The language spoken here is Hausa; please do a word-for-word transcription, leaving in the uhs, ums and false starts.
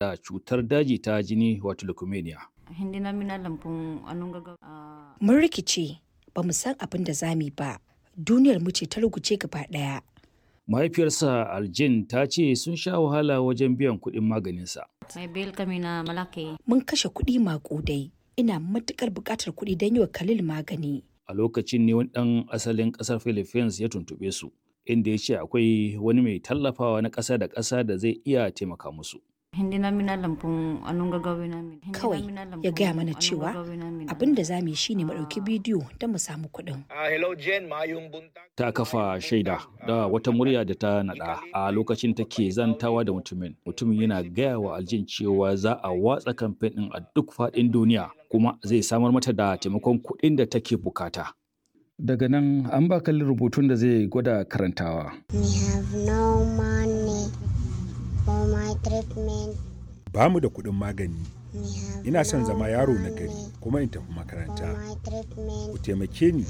da cutar daji ta jini wato leukemia. Hindi namin alam kung anong gagawin. Ah, Mun rikice, ba mu san abin da za mu yi ba. Duniyar mu ce ta ruguje gaba ɗaya. Mahaifiyarsa Aljin ta ce sun sha wahala wajen biyan kuɗin maganinsa. may bill kami na malaki. Mun kashe kuɗi maƙudai. Ina matuƙar buƙatar kuɗi don yi wa Khalil magani. A lokacin ne wani ɗan asalin ƙasar Philippines ya tuntuɓe su, inda ya ce akwai wani mai tallafawa na ƙasa da ƙasa da zai iya taimaka musu. Hindi namin alam kung anong gagawin namin. Hindi Kawai namin alam ya gaya kung mana anong cewa gagawin namin. abin da za mu yi shine mu ɗauki bidiyo don mu samu kuɗin. Ah, hello Jen, maayong buntag. Ta kafa shaida da wata murya da ta naɗa a lokacin take zantawa da mutumin. Mutumin yana gaya wa Aljin cewa za a watsa kamfen ɗin a duk faɗin duniya kuma zai samar mata da taimakon kuɗin da take bukata. Daga nan an ba kalli rubutun da zai gwada karantawa. We have no money for my treatment. Ba mu da kuɗin magani. We have Ina son no zama yaro na gari money kuma in tafi for makaranta. my treatment. Ku taimake ni